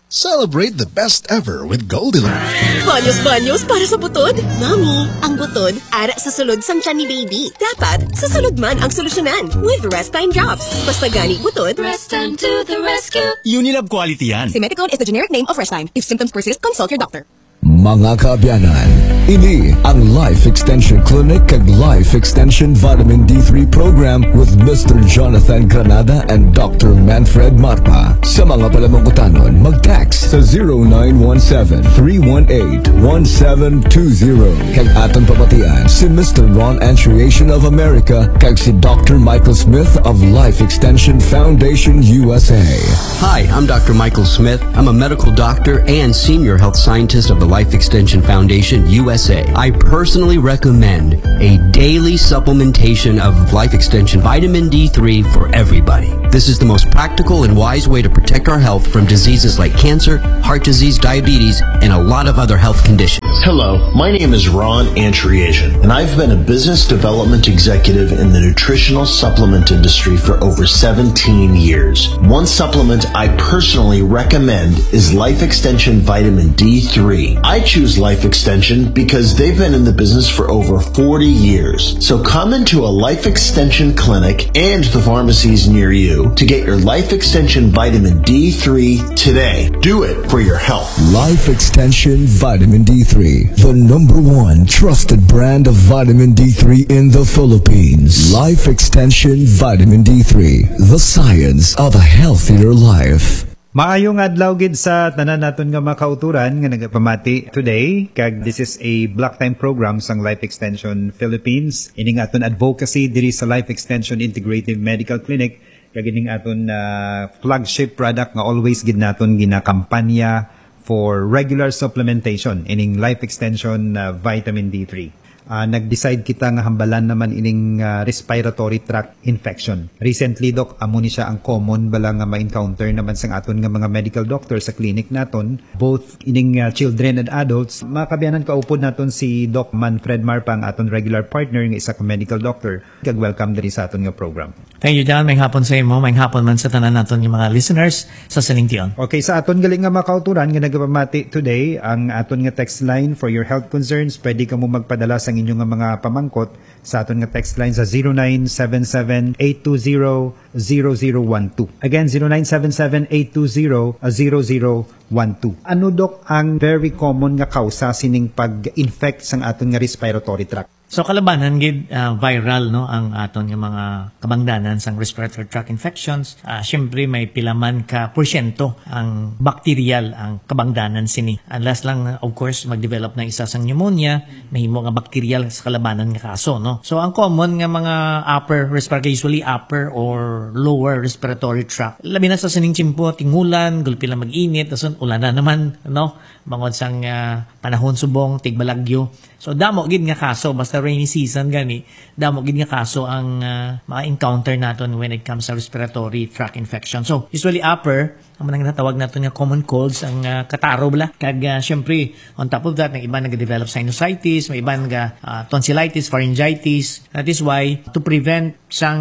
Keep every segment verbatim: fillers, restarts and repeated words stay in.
Celebrate the best ever with Goldilocks. Banyos-banyos para sa butod? Mami, ang butod ara sa sulod sang tiyan ni baby. Dapat sa sulod man ang solusyonan with Restime Drops. Basta gani butod. Restime to the rescue. Unilab quality yan. Simethicone is the generic name of Restime. If symptoms persist, consult your doctor. Mga kaabyanan, ini ang Life Extension Clinic kag Life Extension Vitamin D three Program with Mister Jonathan Granada and Doctor Manfred Marpa. Sa mga palamangkutanon, mag-text sa zero nine one seven, three one eight, one seven two zero. Kag aton pamatian si Mister Ron Antriation of America kag si Doctor Michael Smith of Life Extension Foundation U S A. Hi, I'm Doctor Michael Smith. I'm a medical doctor and senior health scientist of the Life Extension Foundation U S A. I personally recommend a daily supplementation of Life Extension vitamin D three for everybody. This is the most practical and wise way to protect our health from diseases like cancer, heart disease, diabetes, and a lot of other health conditions. Hello, my name is Ron Antriation, and I've been a business development executive in the nutritional supplement industry for over seventeen years. One supplement I personally recommend is Life Extension Vitamin D three. I choose Life Extension because they've been in the business for over forty years. So come into a Life Extension clinic and the pharmacies near you to get your Life Extension Vitamin D three today. Do it for your health. Life Extension Vitamin D three, the number one trusted brand of vitamin D three in the Philippines. Life Extension Vitamin D three, the science of a healthier life. Maayong adlaw gid sa tanan naton nga mga kauturan nga nagapamati today, kag this is a block time program sang Life Extension Philippines. Ining aton advocacy diri sa Life Extension Integrative Medical Clinic, kag ining aton, ah, flagship product nga always gid naton ginakampanya for regular supplementation, ining Life Extension, ah, Vitamin D three. Ah, nag-decide kita nga hambalan naman ining, ah, respiratory tract infection. Recently, Doc, amo ni siya ang common bala nga ma-encounter naman sang aton nga mga medical doctor sa clinic naton, both ining, ah, children and adults. Mga kaabyanan, kaupod naton si Doc Manfred Marpa, ang aton regular partner nga isa ka medical doctor. Kag welcome diri sa aton nga program. Thank you, John. Maayong hapon sa imo. Maayong hapon man sa tanan naton nga mga listeners sa sining tion. Okay, sa aton gali nga mga kauturan nga nagapamati today, ang aton nga text line for your health concerns, pwede kamo magpadala sang inyo nga mga pamangkot sa aton nga text line sa zero nine seven seven, eight two zero, zero zero one two. Again, zero nine seven seven, eight two zero, zero zero one two. Ano, Doc, ang very common nga kausa sining pag-infect sang aton nga respiratory tract? So, kalabanan gid, ah, viral, no, ang aton nga mga kabangdanan sang respiratory tract infections. Ah, syempre, may pila man ka porsyento ang bakteryal ang kabangdanan sini. Unless lang, of course, mag-develop na isa sang pneumonia, mahimo nga bakteryal sa kalabanan nga kaso, no. So, ang common nga mga upper respiratory, usually upper or lower respiratory tract, labi na sa sining tiyempo, tingulan, gulpi lang mag-init, dason ulan na naman, no, bangod sang, ah, panahon subong, tigbalagyo. So, damo gid nga kaso, basta rainy season gani, damo gid nga kaso ang, ah, ma-encounter naton when it comes sa respiratory tract infection. So, usually upper, ang mga ginatawag naton nga common colds, ang, ah, kataro bala. Kag, ah, syempre, on top of that, may iba nag-develop sinusitis, may iba nag, ah, tonsillitis, pharyngitis. That is why, to prevent sang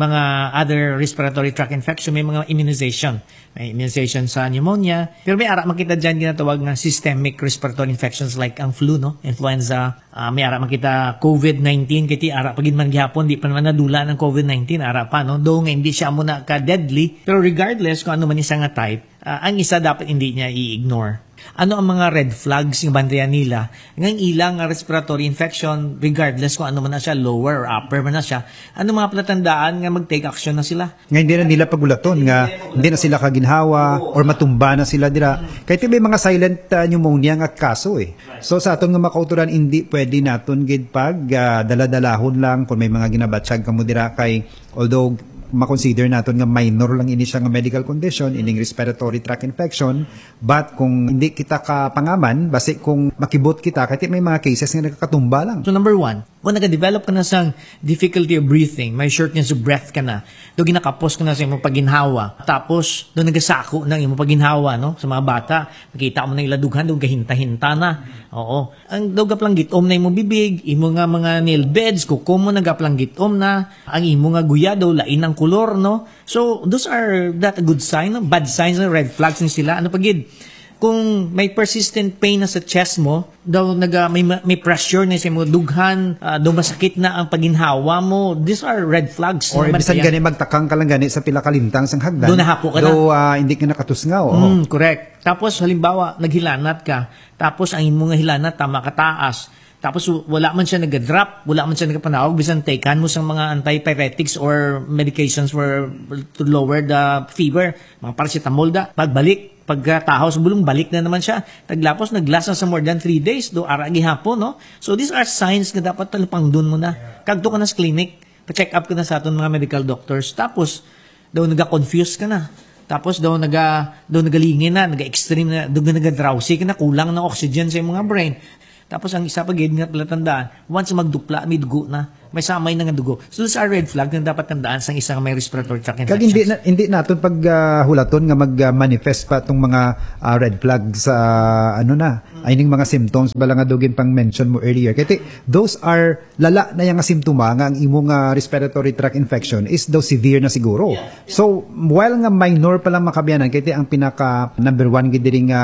mga other respiratory tract infection, may mga immunization. May immunization sa pneumonia. Pero may ara man kita dyan ginatawag nga systemic respiratory infections like ang flu, no? Influenza. Ah, may ara man kita covid nineteen, kay ti ara pa gid man gihapon, di pa naman nadula ng covid nineteen, ara pa, no? Though nga hindi siya amo na ka-deadly, pero regardless kung ano man isa nga type, ah, ang isa dapat hindi niya i-ignore. Ano ang mga red flags nga bantayan nila nga ang ilang nga respiratory infection, regardless kung ano man na siya, lower or upper man na siya, ano mga palatandaan nga mag-take action na sila? Nga hindi na nila pagulaton nga hindi na sila kaginhawa or matumba na sila dira. Kay ti may mga silent, ah, pneumonia nga kaso, eh. So, sa aton nga mga kauturan, hindi pwede naton gid pag, ah, daladalahon lang kung may mga ginabatyag kamo dira kay, although ma-consider naton nga minor lang ini siya nga medical condition, ining respiratory tract infection, but kung hindi kita kapangaman, basi kung makibot kita, kay ti may mga cases nga nagkakatumba lang. So, number one, Kung nagadevelop ka na sang difficulty of breathing, may shortness of breath ka na, do ginakapos ka na sa imong paginhawa, tapos do nagasako na ang imong paginhawa, no? Sa mga bata, makita mo na ila dughan, do gahinta-hinta na. Oo. Ang do gaplanggitom na imong bibig, imo nga mga nail beds, kuko mo nagaplanggitom na, ang imo nga guya do lain ang kulor, no? So, those are not a good sign, no? Bad signs, no? Red flags ni sila. Ano pa gid? Kung may persistent pain na sa chest mo, daw naga, may, may pressure na sa imo dughan, ah, daw masakit na ang paginhawa mo, these are red flags. Or Naman bisan kaya gani magtakang ka lang gani sa pila ka lintang sang hagdan. Doon nahapo ka na. Daw, ah, hindi ka nakatusngaw, oo. Mm, correct. Tapos, halimbawa, naghilanat ka, tapos ang imo nga hilanat tama ka taas, tapos w-, wala man siya nagadrop, wala man siya nagapanawag, bisan takan mo sang mga antipyretics or medications for to lower the fever, mga paracetamol da, pagbalik, pagkatahaw sa bulong, balik na naman siya. Taglapos, naglasa sa more than three days, do ara gihapon, no? So, these are signs nga dapat talupangdon mo na. Kagto ka na sa clinic, pa-check up ka na sa aton mga medical doctors. Tapos, daw naga-confuse ka na. Tapos daw naga, daw nagalingin na, naga-extreme na, daw naga-drowsy ka na, kulang na oxygen sa imong brain. Tapos ang isa pa gid nga palatandaan, once magdupla, may dugo na. May samay na nga dugo. So, those are red flag na dapat tandaan sa isa nga may respiratory tract Kag hindi infection. Na, hindi naton pag, ah, hulaton nga mag-manifest pa tong mga, ah, red flags sa, ano na, ay ning mga symptoms bala nga daw ginpang-mention mo earlier. Kaya ti-, those are lala na yang simptoma nga ang imo nga respiratory tract infection is daw severe na siguro. Yeah. So, while nga minor pa lang, mga kaabyanan, kaya ti ang pinaka number one gid diri nga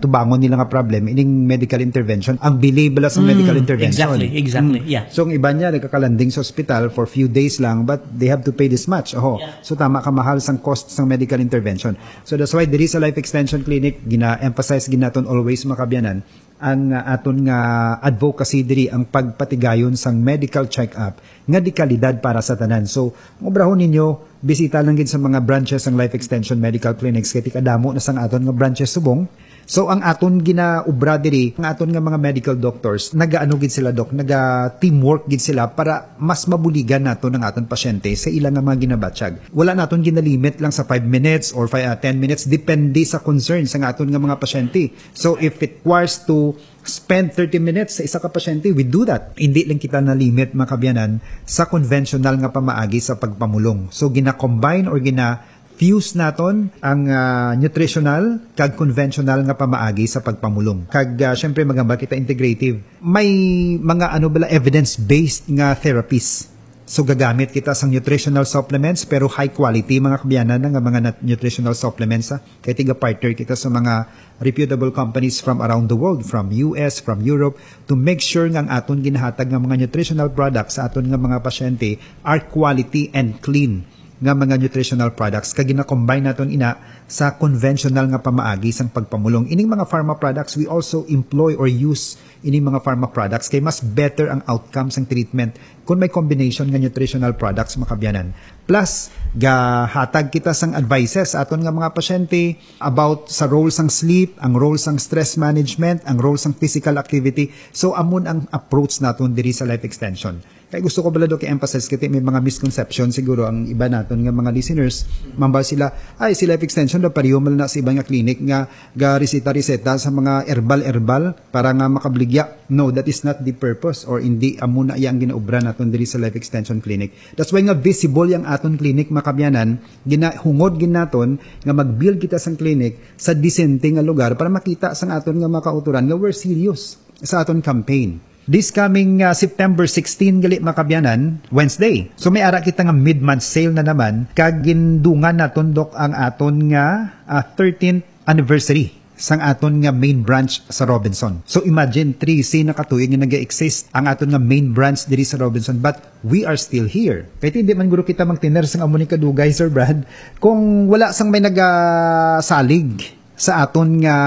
tubangon nila nga problem, ining medical intervention, ang bili bala sa Mm, medical intervention. Exactly, exactly, Mm. Yeah. So, ang iba niya nagkakalanding sa ospital for few days lang, but they have to pay this much. Oho. Yeah. So, tama ka, mahal sang cost sang medical intervention. So, that's why diri sa Life Extension Clinic, gina-emphasize gid naton always, mga kaabyanan, ang, ah, aton nga advocacy diri, ang pagpatigayon sang medical check-up nga di kalidad para sa tanan. So, ang obrahon ninyo, bisita lang gid sa mga branches sang Life Extension Medical Clinics, kay ti kadamo na sang aton nga branches subong. So, ang aton ginaobra diri, ang aton nga mga medical doctors, nagaano gid sila, Doc, naga-teamwork gid sila para mas mabuligan naton ang aton pasyente sa ila nga mga ginabatyag. Wala naton ginalimit lang sa five minutes or five, ah, ten minutes, depende sa concern sang aton nga mga pasyente. So, if it requires to spend thirty minutes sa isa ka pasyente, we do that. Hindi lang kita na-limit, mga kaabyanan, sa conventional nga pamaagi sa pagpamulong. So, gina-combine or gina-fuse naton ang, ah, nutritional kag conventional nga pamaagi sa pagpamulong. Kag, ah, syempre, maghambal kita integrative. May mga, ano bala, evidence-based nga therapies. So, gagamit kita sang nutritional supplements, pero high quality, mga kaabyanan, nga mga nat-, nutritional supplements, ha. Kay tiga-partner kita sa mga reputable companies from around the world, from U S, from Europe, to make sure nga ang aton ginahatag nga mga nutritional products sa aton nga mga pasyente are quality and clean nga mga nutritional products, kag gina-combine naton ina sa conventional nga pamaagi sang pagpamulong. Ining mga pharma products, we also employ or use ining mga pharma products kay mas better ang outcome sang treatment kung may combination nga nutritional products, mga kaabyanan. Plus, gahatag kita sang advices sa aton nga mga pasyente about sa role sang sleep, ang role sang stress management, ang role sang physical activity. So, amon ang approach naton diri sa Life Extension. Kay gusto ko bala, Doc, i-emphasize, kay may mga misconception siguro ang iba naton nga mga listeners. Mambal sila, "Ay, si Life Extension daw pareho man na sa iba nga clinic nga gareseta-reseta sa mga herbal-herbal para nga makabaligya." No, that is not the purpose, or hindi amo na iya ang ginaobra naton diri sa Life Extension Clinic. That's why nga visible yang aton clinic, mga kaabyanan, ginahungod gid naton nga mag-build kita sang clinic sa disente nga lugar para makita sang aton nga mga kautoran nga we're serious sa aton campaign. This coming, uh, September sixteen gali, mga kaabyanan, Wednesday. So may ara kita nga mid-month sale na naman, kag gindungan naton, Doc, ang aton nga, uh, thirteenth anniversary sang aton nga main branch sa Robinson. So imagine, trese na ka tuig nga nag-exist ang aton nga main branch diri sa Robinson, but we are still here. Kay hindi man guro kita magtiner sang amo ni kadugay, Sir Brad, kung wala sang may nagasalig sa aton nga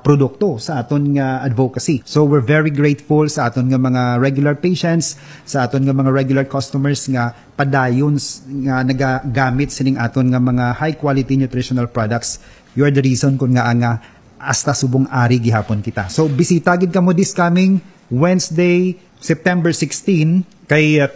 produkto, sa aton nga advocacy. So, we're very grateful sa aton nga mga regular patients, sa aton nga mga regular customers nga padayon s-, nga nagagamit sining aton nga mga high quality nutritional products. You are the reason kun ngaa nga hasta subong ari gihapon kita. So, bisita gid kamo this coming Wednesday, September sixteen, kay, uh,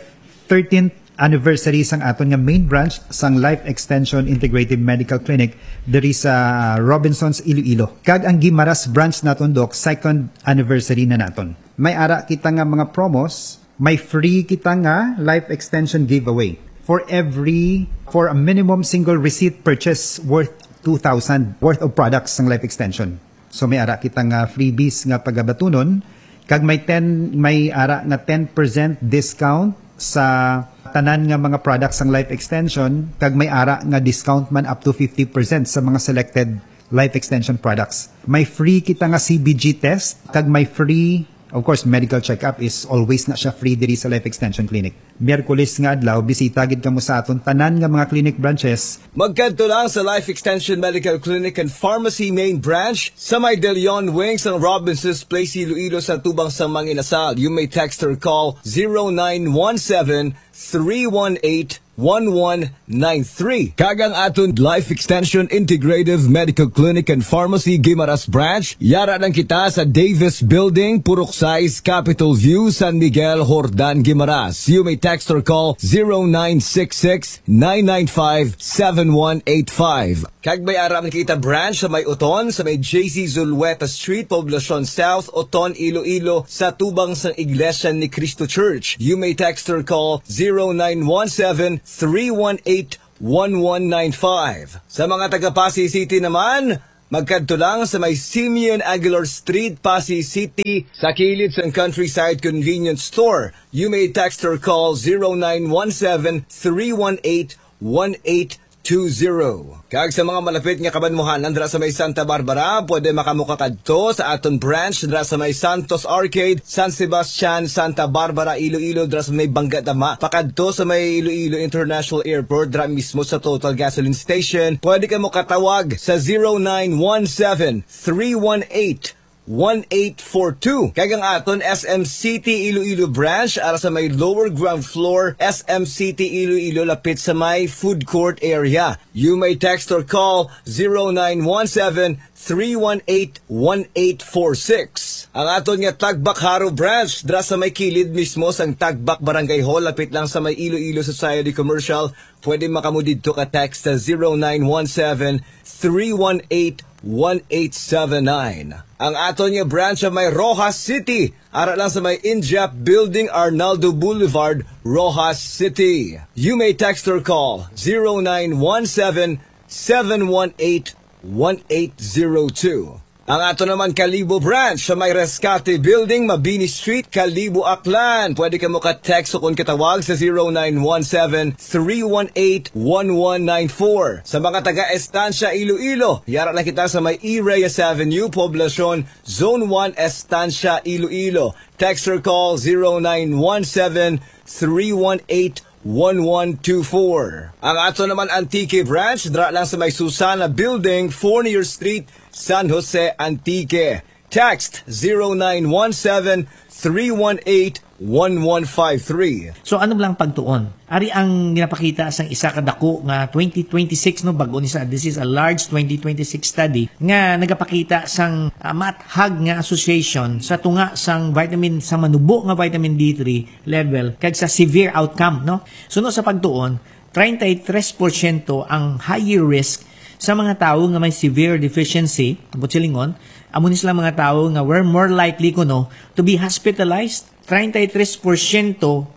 thirteenth anniversary sang aton nga main branch sang Life Extension Integrative Medical Clinic diri sa Robinsons, Iloilo. Kag ang Guimaras branch naton, Doc, second anniversary na naton. May ara kita nga mga promos May free kita nga life extension giveaway for every, for a minimum single receipt purchase worth two thousand worth of products sang life extension. So may ara kita nga freebies nga pagabatunon, kag may ten, may ara nga ten percent discount sa tanan nga mga products sang life extension, kag may ara nga discount man up to fifty percent sa mga selected life extension products. May free kita nga C B G test, kag may free, of course, medical checkup is always na siya free diri sa Life Extension Clinic. Miyerkules nga adlaw, bisita gid kamo sa aton tanan nga mga clinic branches. Magkadto lang sa Life Extension Medical Clinic and Pharmacy Main Branch sa may De Leon Wing sang Robinsons Place, Iloilo, sa tubang sang mga inasal. You may text or call zero nine one seven, three one eight, one one nine three. Kag ang aton Life Extension Integrative Medical Clinic and Pharmacy Guimaras Branch, yara lang kita sa Davis Building, Purok sais, Capitol View, San Miguel, Jordan, Guimaras. You may text or call zero nine six six, nine nine five, seven one eight five. Kag may ara man kita branch sa may Oton, sa may J C Zulueta Street, Poblacion South, Oton, Iloilo, sa tubang sang Iglesia ni Cristo Church. You may text or call zero nine one seven, three one eight, one one nine five. Sa mga taga Passi City naman, magkadto lang sa may Simeon Aguilar Street, Passi City, sa kilid sang Countryside Convenience Store. You may text or call zero nine one seven, three one eight, one eight two zero. Kag sa mga malapit nga kabanwahanan dira sa may Santa Barbara, pwede makamukakadto sa aton branch dira sa may Santos Arcade, San Sebastian, Santa Barbara, Iloilo, dira sa may Bangga Dama, pakadto sa may Iloilo International Airport, dira mismo sa Total Gasoline Station. Pwede ka mo katawag sa zero nine one seven, three one eight, one eight four two. Kag ang aton S M City Iloilo branch, ara sa may lower ground floor, S M City Iloilo, lapit sa may food court area. You may text or call zero nine one seven, three one eight, one eight four six. Ang aton nga Tagbak Jaro branch, dira sa may kilid mismo sang Tagbak Barangay Hall, lapit lang sa may Iloilo Society Commercial. Pwede makamu didto ka text sa zero nine one seven, three one eight, one eight seven nine. Ang aton nga branch sa may Roxas City, ara lang sa may Injap Building, Arnaldo Boulevard, Roxas City. You may text or call zero nine one seven, seven one eight, one eight zero two. Ang ato naman Kalibo branch sa may Rescate Building, Mabini Street, Kalibo, Aklan. Pwede ka mo ka-text o kung katawag sa zero nine one seven, three one eight, one one nine four. Sa mga taga Estancia, Iloilo, yara na kita sa may E. Reyes Avenue, Poblacion, Zone one, Estancia, Iloilo. Text or call zero nine one seven, three one eight, one one two four. Ang ato naman Antique branch, dra lang sa may Susana Building, Fornier Street, San Jose, Antique. Text zero nine one seven, three one eight, one one five three. So, ano lang pagtuon? Ari ang ginapakita sang isa ka dako nga twenty twenty-six, no, bag-o ni sa, this is a large twenty twenty-six study nga nagapakita sang, ah, maathag nga association sa tunga sang vitamin, sa manubo nga vitamin D three level kag sa severe outcome, no? Suno sa pagtuon, treinta y tres porsyento ang higher risk sa mga tawo nga may severe deficiency, ambot silingon, amo ni sila mga tawo nga were more likely kuno to be hospitalized. Treinta y tres porsyento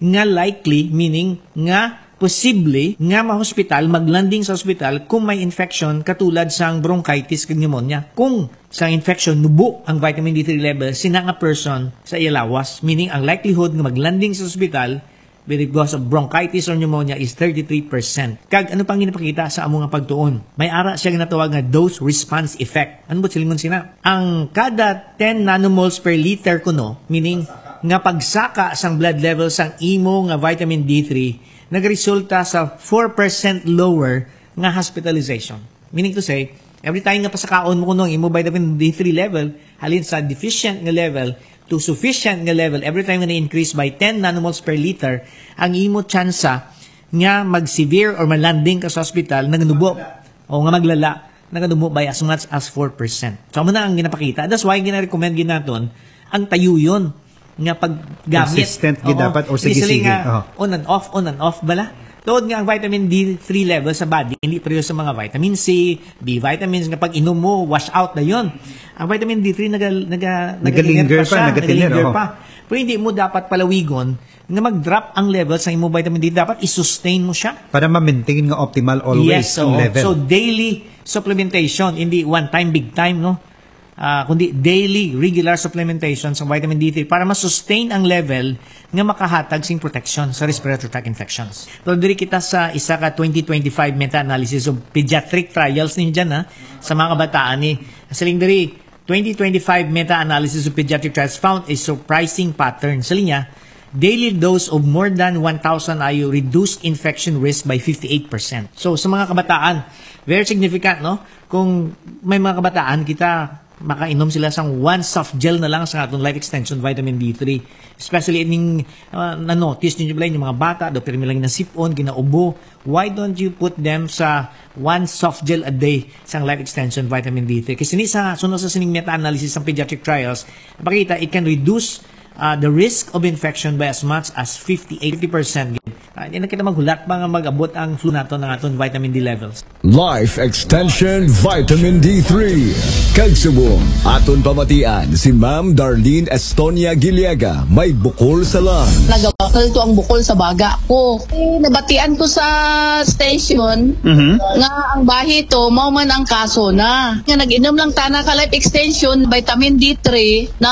nga likely, meaning nga posible nga ma-hospital, mag-landing sa hospital kung may infection katulad sang bronchitis kag pneumonia. Kung sa infection nubo ang vitamin D three level, sina nga person sa iya lawas, meaning ang likelihood nga mag-landing sa hospital because of bronchitis or pneumonia is thirty-three percent. Kag ano pang ginapakita sa amo nga pagtuon? May ara siya ginatawag nga dose response effect. Ano ba silingon sina? Ang kada ten nanomoles per liter kuno, meaning nga pagsaka sang blood level sang imo nga vitamin D three, nagresulta sa four percent lower nga hospitalization. Meaning to say, every time nga pasakaon mo kuno ang imo vitamin D three level, halin sa deficient nga level to sufficient nga level, every time nga na-increase by ten nanomoles per liter ang imo tsansa nga mag-severe or ma-landing ka sa hospital, naganubo o nga maglala, naganubo by as much as four percent. So, amo na ang ginapakita. That's why gina-recommend gid naton ang tayuyon nga paggamit. Consistent gid dapat or sige-sige. Oo. On and off, on and off bala. Tod nga ang vitamin D three level sa body hindi pareho sa mga vitamin C, B vitamins nga pag inom mo, wash out na yon. Ang vitamin D three naga, naga, Nagalinger nagalinger pa, siya, nagalinger, nagalinger oo. pa. Pero hindi mo dapat palawigon nga mag-drop ang level sa imong vitamin D. Dapat i-sustain mo siya. Para ma-maintain nga optimal always Yes, ang oo. level. So, daily supplementation, hindi one time, big time, no? Ah, kundi daily, regular supplementation sa vitamin D three para ma-sustain ang level nga makahatag sing protection sa respiratory tract infections. Pero diri kita sa isa ka twenty twenty-five meta-analysis of pediatric trials ninyo dyan, ha? Sa mga kabataan ni, siling diri, twenty twenty-five meta-analysis of pediatric trials found a surprising pattern. Sa linya, daily dose of more than one thousand I U reduced infection risk by fifty-eight percent. So, sa mga kabataan, very significant, no? Kung may mga kabataan, kita makainom sila sang one soft gel na lang sa atong life extension vitamin D three. Especially ining uh, na-notice ninyo ba yung mga bata, do pirmi lang nasipon, ginaubo. Why don't you put them sa one soft gel a day sang life extension vitamin D three? Kasi ni sa sunod sa sining meta-analysis sang pediatric trials, pakita it can reduce uh, the risk of infection by as much as fifty-eight percent. Uh, hindi na kita maghulat pa nga mag-abot ang flu nato ng aton vitamin D levels. Life Extension Vitamin D three. Kag subong, aton pamatian si Ma'am Darlene Estonia Giliaga may bukol sa lungs. Nagabakal to ang bukol sa baga ko. Eh, nabatian ko sa station nga ang bahi to, mao man ang kaso na. Nga nag-inom lang tana ka life extension, vitamin D three, na